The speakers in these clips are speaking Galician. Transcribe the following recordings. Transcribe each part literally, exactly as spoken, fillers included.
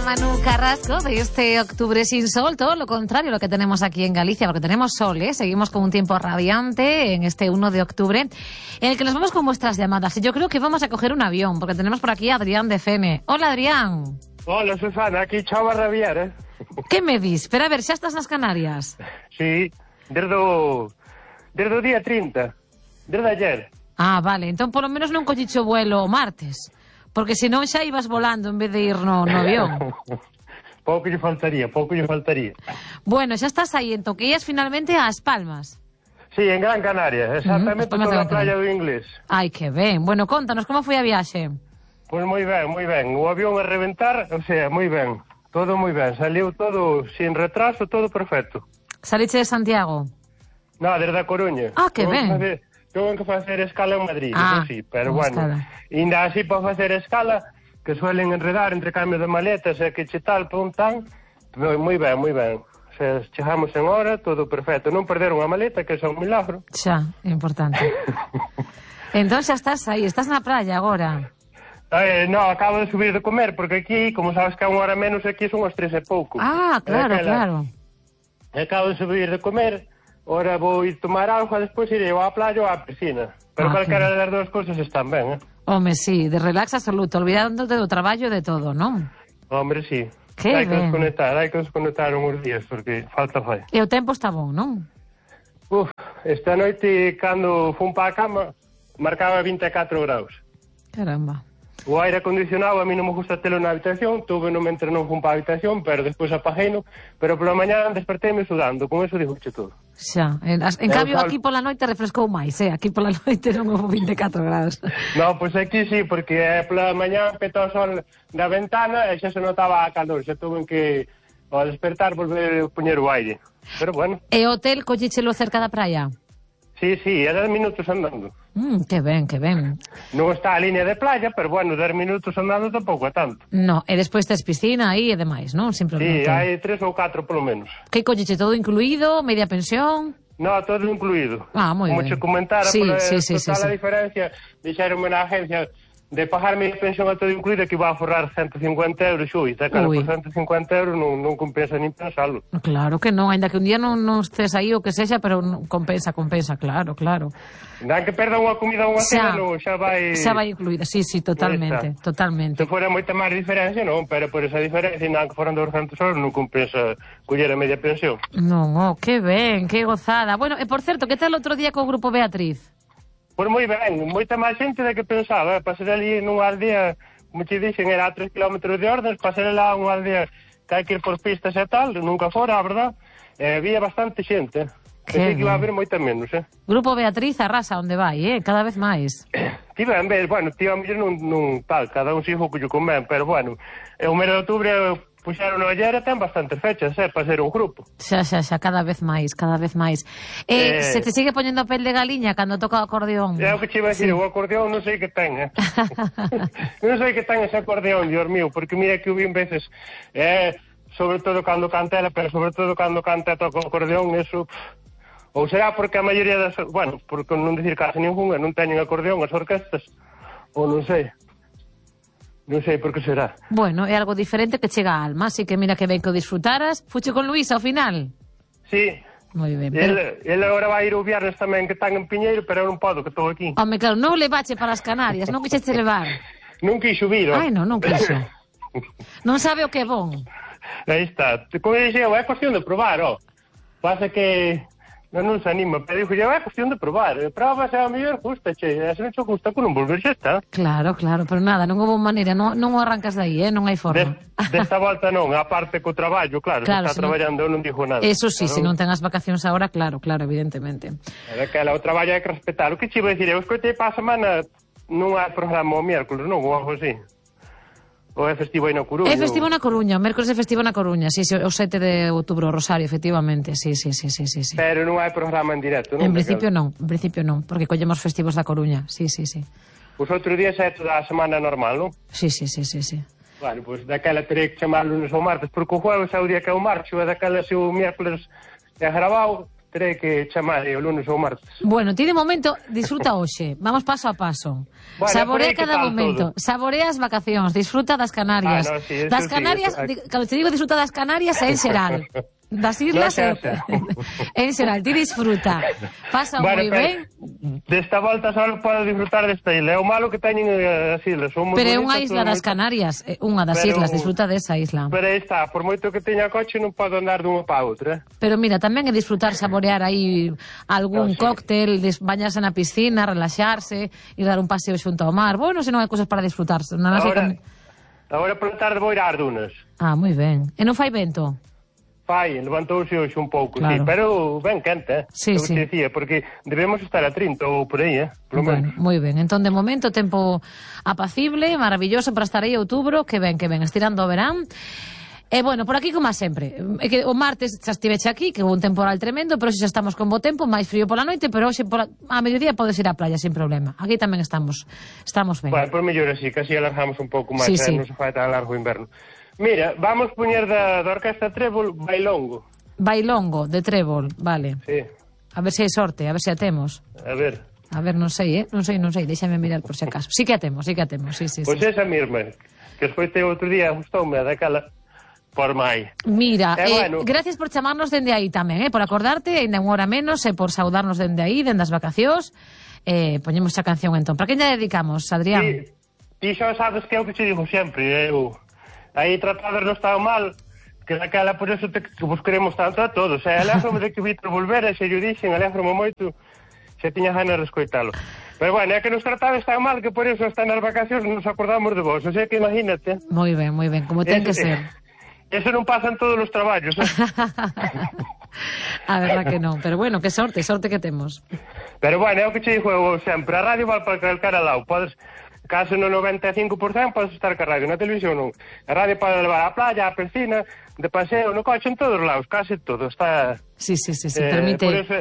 Manu Carrasco, de este octubre sin sol, todo lo contrario a lo que tenemos aquí en Galicia, porque tenemos sol, ¿eh? Seguimos con un tiempo radiante en este uno de octubre, en el que nos vamos con vuestras llamadas. Y yo creo que vamos a coger un avión, porque tenemos por aquí a Adrián de F M. Hola, Adrián. Hola, Susana, aquí chao a rabiar, eh? Que me dis? Espera, a ver, xa estás nas Canarias? Sí, desde o, desde o día trinta, desde ayer. Ah, vale, entón polo menos non collicho vuelo o martes. Porque senón xa ibas volando en vez de ir no, no avión. Pouco lle faltaría, pouco lle faltaría. Bueno, xa estás aí, entón que ias finalmente ás Palmas. Sí, en Gran Canaria, exactamente, uh -huh, toda a playa do Inglés. Ai, que ben. Bueno, contanos, como foi a viaxe? Pois moi ben, moi ben. O avión a reventar, o sea, moi ben. Todo moi ben, saliu todo sin retraso, todo perfecto. Saliche de Santiago? No, desde a Coruña. Ah, que ben. Tengo que facer escala en Madrid, ah, eso sí, pero bueno, escala. Ainda así para facer escala, que suelen enredar entre cambio de maletas e que che tal, pum, tan, moi ben, moi ben. O sea, chegamos en hora, todo perfecto. Non perderon a maleta, que é un milagro. Xa, importante. Entón xa estás aí, estás na praia agora. Eh, no, acabo de subir de comer, porque aquí, como sabes que a unha hora menos, aquí son as tres e pouco. Ah, claro, aquela... claro. Acabo de subir de comer, ora vou ir tomar auga, despois irei á playa ou á piscina. Pero ah, calquera das dúas cousas están ben, eh? Home, sí, de relax absoluto, olvidándote do traballo de todo, non? Hombre, sí. Que hai ben. que desconectar, hai que desconectar uns días, porque falta fai. E o tempo está bon, non? Uf, esta noite, cando fun pa a cama, marcaba vinte e catro graus. Caramba. O aire acondicionado a mí non me gusta telo na habitación, tuve no mentre non fun pa a habitación, pero despois apagueino, pero pola mañá despertéme sudando, con eso digo che todo. Xa, en, en cambio aquí pola noite refrescou máis, eh? Aquí pola noite non houve vinte e catro graus. No, pois pues aquí sí, porque eh, pola mañá petó o sol da ventana e xa se notaba a calor, xa tuve que ao despertar volver a poñer o aire. Pero bueno. E o hotel collichelo cerca da praia? Sí, sí, é dez minutos andando. Mm, que ben, que ben. Non está a línea de playa, pero bueno, dez minutos andando tampouco é tanto. No, e despois tes piscina aí e demais, non? Sin problema. Sí, hai tres ou catro polo menos. Que colliche, todo incluído, media pensión? No, todo incluído. Ah, moi ben. Como che comentara, sí, pola sí, sí, total sí, sí. a diferencia, dixeronme na agencia de pagar media pensión a todo incluído que iba a forrar ciento cincuenta euros, xui, e claro, por ciento cincuenta euros non, non compensa nin pensalo. Claro que non, ainda que un día non, non estés aí o que sexa, pero non, compensa, compensa, claro, claro. Dan que perda unha comida ou unha cena, non, xa vai... Xa vai incluída, sí, sí, totalmente, totalmente. Se fora moita máis diferencia, non, pero por esa diferencia, dan que foran douscentos euros, non compensa coller a media pensión. Non, oh, que ben, que gozada. Bueno, e por certo, que tal outro día co Grupo Beatriz? Pois moi ben, moita máis xente da que pensaba, eh? Pasar ali nunha aldea, como te dixen, era a tres kilómetros de Ordes, pasar lá unha aldea que hai que ir por pistas e tal, nunca fora, a verdad, eh, había bastante xente. Pensei que iba a haber moita menos, eh? Grupo Beatriz arrasa onde vai, eh? Cada vez máis. Ti ben, ben, bueno, ti a mellor non, non tal, cada un sigo que lle convén, pero bueno, o mes de outubro puxeron no ayer e ten bastantes fechas, eh, para ser un grupo. Xa, xa, xa, cada vez máis, cada vez máis. Eh, eh, se te sigue poñendo a pel de galiña cando toca o acordeón? É o que che iba a dicir, sí. O acordeón non sei que ten, eh? Non sei que ten ese acordeón, Dios mío, porque mira que o vi en veces, eh, sobre todo cando canta ela, pero sobre todo cando canta toca o acordeón, eso... Ou será porque a maioría das... Bueno, porque non dicir casi ninguna, non teñen acordeón as orquestas, ou non sei... Non sei por que será. Bueno, é algo diferente que chega a alma, así que mira que ben que o disfrutaras. Fuche con Luís ao final? Sí. Moi ben. Pero... Ele, ele agora vai ir o viernes tamén, que están en Piñeiro, pero eu non podo, que estou aquí. Home, claro, non levache para as Canarias, non quixeste levar. Non quixo vir, ó. Ai, non, non quixo. Non sabe o que é bon. Aí está. Como dixeu, é cuestión de probar, ó. Pasa que... Non, non se anima, pero dixo, é cuestión de probar. Prova se a mellor gusta, che. Se non che gusta, que non volver xa está. Claro, claro, pero nada, non houve maneira, non, non o arrancas de aí, eh? Non hai forma. De, desta volta non, a parte co traballo, claro, claro se está traballando, eu non dixo nada. Eso sí, pero... se non ten as vacacións agora, claro, claro, evidentemente. É que o traballo hai que respetar. O que che iba a dicir, eu escoitei para a semana non hai programa o miércoles, non, ou algo así. Ou é festivo aí na Coruña? É festivo na Coruña, o mércoles é festivo na Coruña, sí, sí, o sete de outubro, Rosario, efectivamente, sí, sí, sí, sí, sí. Pero non hai programa en directo, non? En principio non, en principio non, porque collemos festivos da Coruña, sí, sí, sí. Pois outro día é da semana normal, non? Sí, sí, sí, sí, sí. Bueno, pois daquela terei que chamar lunes ou martes, porque o jueves é o día que eu marcho, e daquela se o miércoles é grabado, terei que chamar o lunes ou martes. Bueno, ti de momento disfruta hoxe, vamos paso a paso. Bueno, Saborea por aí que cada tal momento, todo? saborea as vacacións, disfruta das Canarias. Ah, no, sí, eso das sí, Canarias, eso- di- cando te digo disfruta das Canarias é en xeral. Das islas No, é xa, xa. en xeral, ti disfruta. Pasa Bueno, moi pero ben. desta volta só podo disfrutar desta isla. É o malo que teñen eh, as islas. Son moi Pero é bonitas, unha isla son das moi- Canarias, é unha das Pero- islas, disfruta desa isla. Pero aí está, por moito que teña coche non podo andar dunha para outra. Pero mira, tamén é disfrutar, saborear aí algún Ah, sí. cóctel, des- bañarse na piscina, relaxarse e dar un paseo xunto ao mar. Bueno, se non hai cousas para disfrutarse. Na nosa Ahora, tamén- agora pola tarde vou ir ás dunas. Ah, moi ben. E non fai vento? Fai, levantouse hoxe un pouco, Claro. sí, pero ben quente, eh? Sí, Eu sí. te dicía, porque debemos estar a trinta ou por aí, eh? Polo Bueno, menos. moi ben. Entón, de momento, tempo apacible, maravilloso para estar aí outubro, que ben, que ben, estirando o verán. E, bueno, por aquí como a sempre. É que o martes xa estiveche aquí, que houve un temporal tremendo, pero hoxe xa estamos con bo tempo, máis frío pola noite, pero hoxe pola... a mediodía podes ir á playa sin problema. Aquí tamén estamos estamos ben. Bueno, por mellor así, que así alargamos un pouco máis, Sí, eh? sí. Non se fai tan largo o inverno. Mira, vamos poñer da, da Orquesta Trébol Bailongo. Bailongo, de trébol, vale. Sí, A ver se hai sorte, a ver se a temos. a ver. A ver, non sei, eh? Non sei, non sei, déxame mirar por si acaso. Sí que a temos, sí que a temos, sí, sí, Pois sí. esa mesma, que escoitei outro día, gustoume, daquela por mai. Mira, Eh, eh, bueno. gracias por chamarnos dende aí tamén, eh? Por acordarte, ainda unha hora menos, e por saudarnos dende aí, dende as vacacións. Eh, poñemos a canción entón. Para quen lle dedicamos, Adrián? Ti, ti xa sabes que é o que te digo sempre, eu... Aí tratados non estaba mal, que daquela por eso te, que vos queremos tanto a todos. E alégrome de que Vítor volvera, e se yo dixen, alégrome moito, se tiña ganas de escoitalo. Pero bueno, é que nos tratades tan mal que por eso hasta nas vacacións nos acordamos de vos. O sea que imagínate. Moi ben, moi ben, como ten que Eso- ser. Eso non pasa en todos os traballos. Eh? A verdad que non, pero bueno, que sorte, sorte que temos. Pero bueno, é o que che digo eu sempre. A radio vai para calcar al lado. Podes, caso no noventa e cinco por cento podes estar ca radio, na televisión non. A radio pode levar á playa, á piscina, de paseo, no coche, en todos os lados, case todo. Está... Sí, sí, sí, sí, eh, permite... Por eso,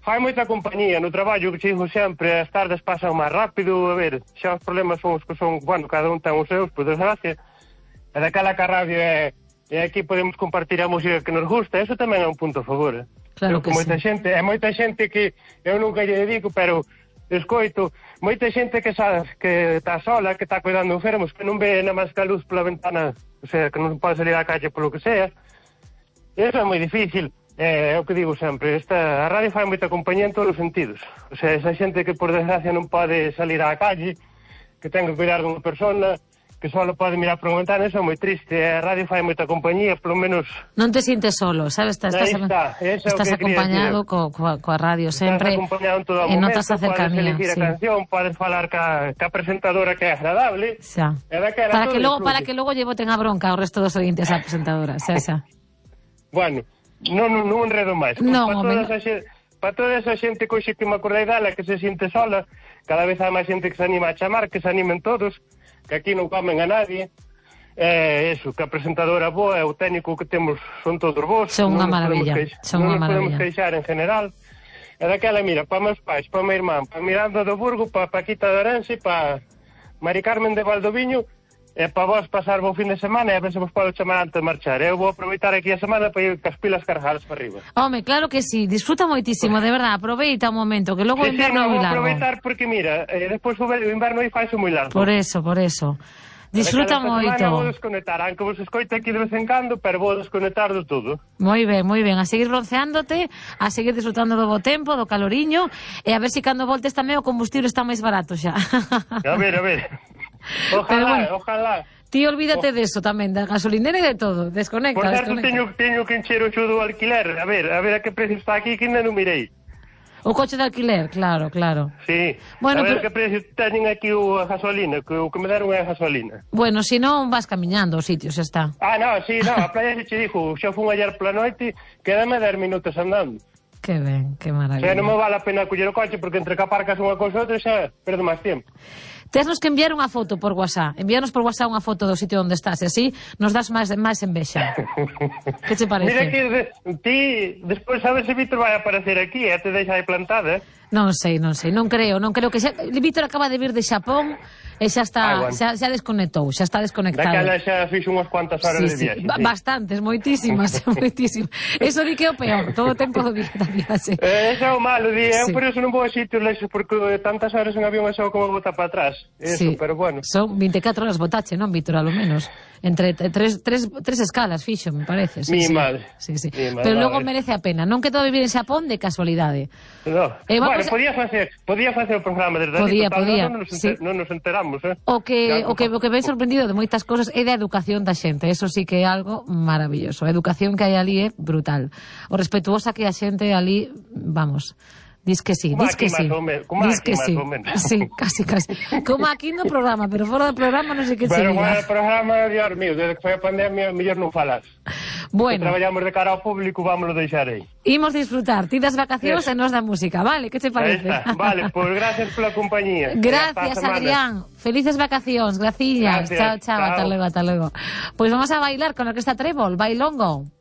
fai moita compañía no traballo, que che digo sempre, as tardes pasan máis rápido, a ver, xa os problemas son os que son, bueno, cada un ten os seus, por desgracia, e daquela que a radio é, e aquí podemos compartir a música que nos gusta, eso tamén é un punto a favor, eh? Claro Eu, que moita sí. xente, é moita xente que eu nunca lle dedico, pero escoito, moita xente que sabes que está sola, que está cuidando enfermos, que non ve na máis que a luz pola ventana, o sea, que non pode salir á calle polo que sea. Eso é moi difícil. É, é o que digo sempre, esta, a radio fai moita compañía en todos os sentidos. O sea, esa xente que por desgracia non pode salir á calle, que ten que cuidar dunha persona, que só pode mirar por unha ventana, eso é moi triste. A radio fai moita compañía, polo menos... Non te sintes solo, sabes? Estás, Aí estás, está, eso é o estás que quería acompañado decir. co, coa, coa radio sempre Estás acompañado en todo o e momento, notas a cercanía. podes elegir Sí. a canción, podes falar ca, ca presentadora que é agradable. Xa. E daquela Para todo que logo disfrute. para que logo lle boten a bronca ao resto dos ointes á presentadora, xa, xa. Bueno, non, non, non enredo máis. Non, para, home, toda non. esa xente, para toda esa xente que hoxe que me acordei dela, que se siente sola, cada vez hai máis xente que se anima a chamar, que se animen todos, que aquí non comen a nadie. É eso, que a presentadora boa e o técnico que temos son todos vos. Son unha non nos podemos maravilla, queix- son non unha nos podemos maravilla. queixar en general. E daquela, mira, para meus pais, para meu irmán, para Miranda do Burgo, para Paquita de Orense, para Mari Carmen de Valdoviño, e para vos pasar bo fin de semana e a ver se vos podo chamar antes de marchar. Eu vou aproveitar aquí a semana para ir cas pilas cargadas para arriba. Home, claro que sí, disfruta moitísimo, de verdad, aproveita un momento, que logo o Sí, sí, inverno é non moi vou largo. aproveitar porque, mira, eh, despois o ve- o inverno aí faise moi largo. Por eso, por eso. Disfruta Daquela esta semana vou moito. desconectar, aunque vos escoite aquí de vez en cando, pero vou desconectar de todo. Moi ben, moi ben, a seguir bronceándote, a seguir disfrutando do bo tempo, do caloriño, e a ver se cando voltes tamén o combustible está máis barato xa. A ver, a ver. Ojalá, Pero bueno, ojalá. Ti olvídate de eso tamén, da gasolinera e de todo, desconecta, Por certo, desconecta. teño, teño que encher o xo do alquiler. A ver, a ver a que precio está aquí, que ainda non mirei. O coche de alquiler, claro, claro. Sí. Bueno, a ver pero- que precio teñen aquí o a gasolina, que o que me deron é a gasolina. Bueno, se non vas camiñando aos sitios, xa está. Ah, no, sí, no, a playa se che dixo, xa fun ayer pola noite, quédame dez minutos andando. Que ben, que O sea, maravilla. non me vale a pena coller o coche, porque entre que aparcas unha cousa e outra xa perdo máis tempo. Tesnos que enviar unha foto por WhatsApp. Envíanos por WhatsApp unha foto do sitio onde estás, e así nos das máis máis envexa. Que te parece? Mira que de, ti, despois a ver se Víctor vai aparecer aquí, e te deixa aí plantada, eh? Non sei, non sei, non creo, non creo que xa... Víctor acaba de vir de Xapón e xa está, ah, bueno. xa, xa desconectou, xa está desconectado. Daquela xa fixo unhas cuantas horas sí, de viaxe. Sí. Bastantes, moitísimas, moitísimas. Eso di que é o peor, todo o tempo do día da viaxe. Eh, eso é o malo, di, eu sí. por eso non vou a sitios lexos, porque tantas horas en avión é só como botar para atrás. Eso, sí. pero bueno. Son veinticuatro horas botache, non, Víctor, a lo menos. Entre tres, tres, tres escalas fixo, me parece. Sí, Mi sí. madre. Sí, sí. Mi madre. Pero logo merece a pena. Non quedou a vivir en Xapón de casualidade. No. Eh, bueno, a... podía facer, podía facer o programa desde podía, ali, total, podía. non nos, sí. enter, non nos enteramos, eh? O que, claro. o que o que ven sorprendido de moitas cousas é da educación da xente. Eso sí que é algo maravilloso. A educación que hai ali é brutal. O respetuosa que a xente ali, vamos, dis que sí, dis que sí. Dis que sí. Sí, casi, casi. Como aquí no programa, pero fora do programa non sei que se diga. Pero fora do programa, Dios mío, desde que foi a pandemia, mellor non falas. Bueno. Que traballamos de cara ao público, vámonos deixar aí. Imos disfrutar, ti das vacacións e nos da música, vale? Que te parece? Vale, pois pues gracias pola compañía. Gracias, Adrián. Felices vacacións, graciñas. Chao, chao, ata logo, ata logo. Pois pues vamos a bailar con a Orquesta Trébol, bailongo.